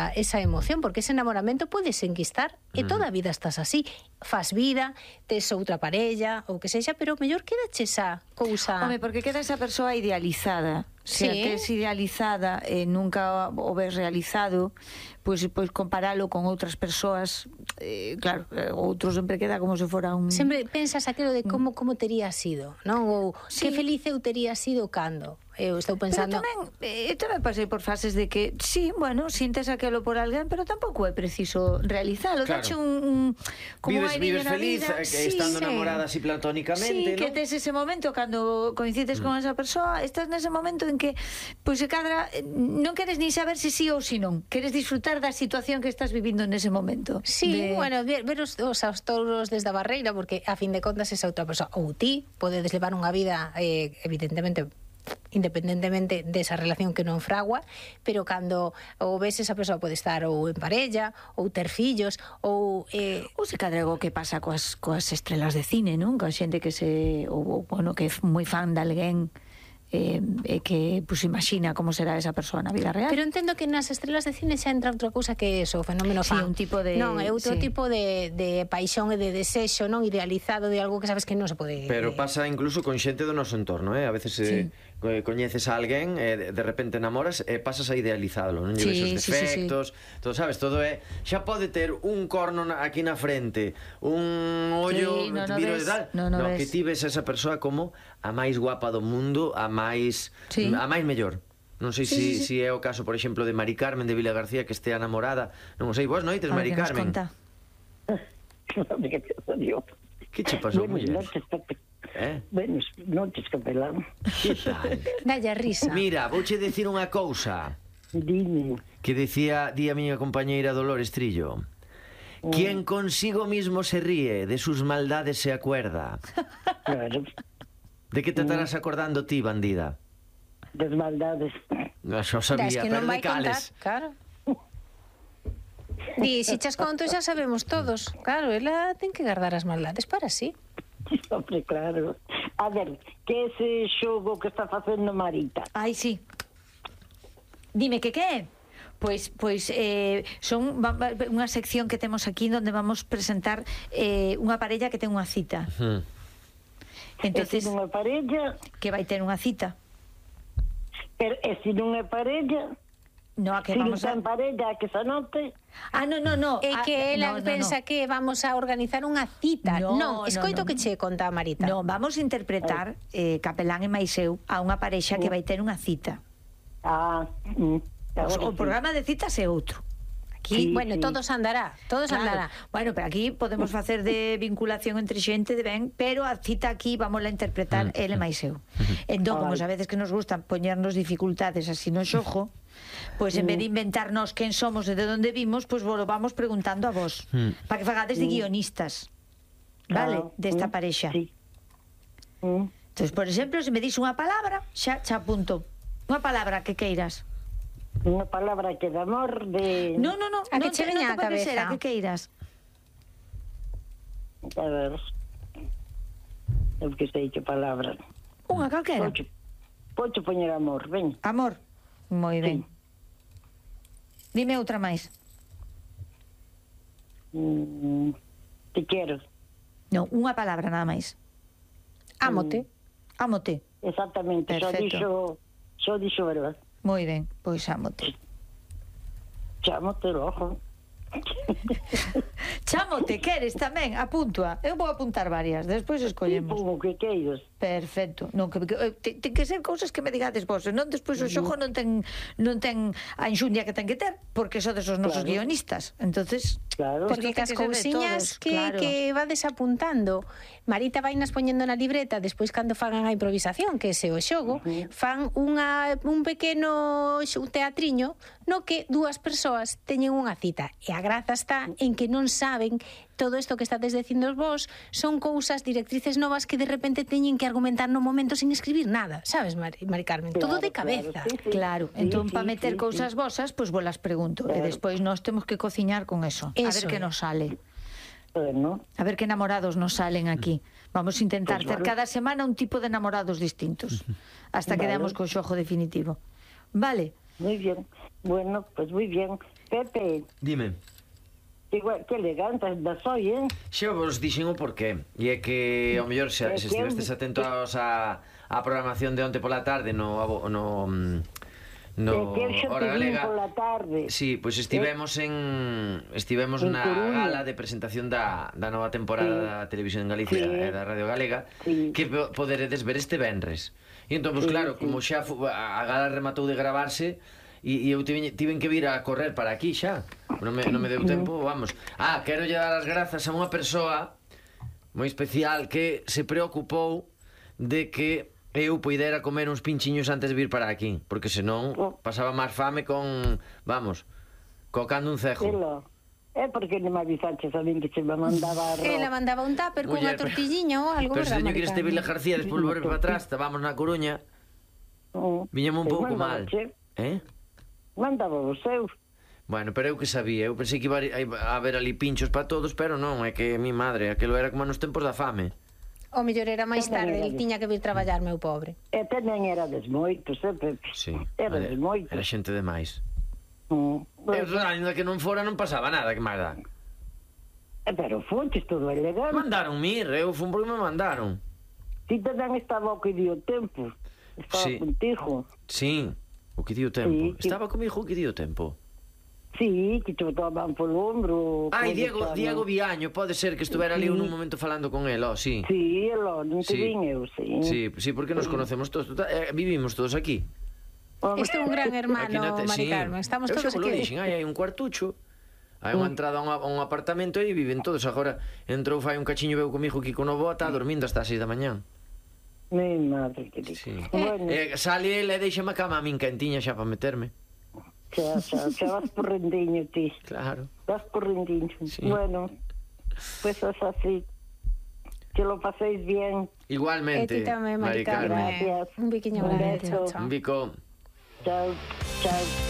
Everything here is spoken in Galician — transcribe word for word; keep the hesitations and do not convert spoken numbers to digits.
esa emoción, porque ese enamoramento podes enquistar e toda a vida estás así, fas vida, tes outra parella ou que sexa, pero mellor quedache esa cousa. Home, porque queda esa persoa idealizada. Se Sí. a tes idealizada e nunca o ves realizado, pois pues, pues, comparalo con outras persoas, eh, claro, outro sempre queda como se fora un... Sempre pensas aquilo de como como tería sido, non? Ou Sí. que feliz eu tería sido cando. Eu estou pensando... Pero tamén, eh, tamén pasei por fases de que, sí, bueno, sintes aquelo por alguén, pero tampouco é preciso realizalo. Claro. Dache un, un como Vives, hai vives na feliz, vida. eh, que estando sí. enamorada así platónicamente, Sí, que ¿no? tes ese momento cando coincides mm. con esa persoa, estás nese momento en que pois se cadra eh, non queres nin saber se sí ou se non, queres disfrutar da situación que estás vivindo nese momento. Sí, de... bueno, ver, ver os, os, os touros desde a barreira, porque a fin de contas esa outra persoa, ou ti, podedes levar unha vida eh, evidentemente independentemente desa relación que non fragua, pero cando ou ves esa persoa pode estar ou en parella, ou ter fillos, ou... Eh... Ou se cadra algo que pasa coas, coas estrelas de cine, non? Coa xente que se... ou, bueno, que é moi fan de alguén eh, e que pues, imagina como será esa persoa na vida real. Pero entendo que nas estrelas de cine xa entra outra cousa que é eso, o fenómeno Sí, fan. un tipo de... Non, é outro sí. tipo de, de paixón e de desexo, non idealizado de algo que sabes que non se pode... Pero pasa incluso con xente do noso entorno, eh? A veces eh, sí. coñeces a alguén e de, de repente enamoras e pasas a idealizalo, non? Sí, Lle ves os sí, sí, defectos, sí. todo, sabes, todo é... Xa pode ter un corno na, aquí na frente, un ollo, Sí, no, no viro ves, e tal, no, no que ves. ti ves a esa persoa como a máis guapa do mundo, a máis... Sí. a máis mellor. Non sei Sí, si, sí, sí. si é o caso, por exemplo, de Mari Carmen de Vila García, que estea enamorada. Non o sei, vos noites, A ver Mari que nos Carmen. conta. Que che pasou, Buenas muller? noches, Pepe. Eh? Buenas noches, capelán. Que tal? Dalle a risa. Mira, vouche decir unha cousa Dime. que decía di a miña compañeira Dolores Trillo. Quien consigo mismo se ríe, de sus maldades se acuerda. Claro, De que te estarás acordando ti, bandida? das maldades. No, xa o Das sabía, que non pero de vai contar, cales. claro. Di, se chas conto xa sabemos todos. Claro, ela ten que guardar as maldades para sí. Hombre, claro. A ver, que ese xogo que está facendo Marita? Ai, sí. Dime que que é? Pois, pois eh, son va, va, unha sección que temos aquí onde vamos presentar eh, unha parella que ten unha cita. Hmm. Entonces, E se non é parella, que vai ter unha cita. pero e se non é parella, No, a que se non vamos a... ten parella, que se anote. Ah, no, no, no. É ah, que ela no, no, pensa no. que vamos a organizar unha cita. No, Non, escoito no, no. que che conta a Marita. No, vamos a interpretar eh, Capelán e máis eu a unha parexa que vai ter unha cita. Ah, mm, O, o programa de citas é outro. Aquí, Sí, bueno, sí. todos andará, todos Claro. andará. Bueno, pero aquí podemos facer de vinculación entre xente de ben, pero a cita aquí vamos a interpretar ele máis eu. Entón, como Ai. sabedes que nos gustan poñernos dificultades así no xojo, pois en vez de inventarnos quen somos e de onde vimos, pois vos lo vamos preguntando a vos, Mm. para que fagades de guionistas. Vale, Ah, desta mm, parexa. Sí. Mm. Entonces, por exemplo, se me dis unha palabra, xa xa apunto. Unha palabra que queiras. Unha palabra que de amor, de... No, no, no, A que non che te, veña non á te pode ser, cabeza. a que queiras. A ver... Eu que sei que palabra. Unha calquera. Pocho, pocho poñer amor, ven. Amor. Moi ben. Sí. Dime outra máis. Mm, te quero. Non, unha palabra nada máis. Ámote. Ámote. Exactamente, só Perfecto. dixo, só dixo verdad. Moi ben, pois ámote. Chámote logo. Chámote, queres tamén? Apúntua. Eu vou apuntar varias, despois escollemos. Tipo, o que queiras. Perfecto. Non, que, que, te, ten que ser cousas que me digades vos, e non despois o xogo non ten non ten a enxundia que ten que ter, porque sodes os nosos Claro. guionistas. Entonces, Claro. Porque Isto ten cas que ser de cousiñas todos, que, claro. que vades apuntando, Marita vai nas poñendo na libreta, despois cando fagan a improvisación, que ese é o xogo, Uh-huh. fan unha, un pequeno xo- un teatriño no que dúas persoas teñen unha cita. E a graza está en que non saben todo isto que estades dicindo vos, son cousas, directrices novas que de repente teñen que argumentar no momento sin escribir nada, sabes, Mari, Mari Carmen? Claro, todo de claro, cabeza. sí, sí. claro, Sí, entón sí, para meter sí, cousas sí. vosas, pois vos las pregunto, e Claro. despois nós temos que cociñar con eso. A Eso ver que é. nos sale. Bueno, A ver que enamorados nos salen aquí. Vamos a intentar Pues ter vale. cada semana un tipo de enamorados distintos, hasta que Vale. demos co xogo definitivo. Vale. muy bien. Bueno, pues muy bien. Pepe, Dime. que, gua- que elegante das hoy, eh? Xa vos dixen o porqué. E é que, ao mellor, se, É se que eu- estivestes atentos á, á programación de onte pola tarde no... abo- no mm, no É que eu xa Hora te vin Galega. pola tarde. Sí, pois estivemos en estivemos En na Coruña. gala de presentación da, da nova temporada da Televisión en Galicia Sí. e da Radio Galega, Sí. que po- poderedes ver este venres. E entón, pois Sí, claro, sí. como xa fu- a a gala rematou de gravarse e, e eu tiven, tiven que vir a correr para aquí xa. Non me, non me deu tempo, vamos. Ah, quero lle dar as grazas a unha persoa moi especial que se preocupou de que eu poidera comer uns pinchiños antes de vir para aquí, porque senón Oh. pasaba máis fame con, vamos, cocando un cejo. Elo. É porque non me avisaches a min que se me mandaba arroz. Ela mandaba un tupper cunha Muller, pero- tortilliña ou algo, Pero se verdad, teño que ir a este Vila Maricarmen? García despois volver para atrás, estábamos na Coruña, Mm. viñame un Pois pouco mal. mandábache. Eh? Mandaba o seu. Bueno, pero eu que sabía, eu pensei que iba a haber ali pinchos para todos, pero non, é que mi madre, aquilo era como nos tempos da fame. O mellor era máis Tamén tarde, era el de- tiña que vir traballar, meu pobre. E tamén era des moitos, eh, Pepe? Sí, Era era, des moitos. era xente demais. Mm. Eu, ainda que non fora, non pasaba nada, que máis dá. Eh, Pero fontes todo elegante. Mandaron mir, eu fun porque me mandaron. Ti tamén estaba o que dio tempo. Estaba Sí. contigo. Sí, o que dio tempo. Sí, que- Estaba comigo o que dio tempo. Sí, que te botaban polo ombro. Ai, coño, Diego, estaba- Diego Viaño, pode ser que estuvera ali Sí. nun momento falando con el, oh, sí. Sí, elo, non te Sí. vin eu, sí. Sí, sí, porque nos conocemos todos, total, eh, vivimos todos aquí. Home, Este é un gran Aquí hermano, na te- Mari sí. Carmen. Estamos Eu todos xa vos lo aquí. dixen, hai, hai un cuartucho. Hai unha entrada a un, a un apartamento e viven todos. Agora entrou fai un cachiño veu comigo aquí con o bo, está dormindo hasta as seis da mañán. Mi madre querida. Sí. Bueno, Eh, sale ele e deixame a cama a min quentiña xa para meterme. xa, xa, xa vas por rendiño ti. Claro. Vas por rendiño. Sí. Bueno, pues es así. Que lo paséis bien. E Igualmente, ti tamén, Mari Mari Carmen. Carmen. Gracias. Un biquiño Un grande. beso. Chao, chao. Un bico. Chao, chao.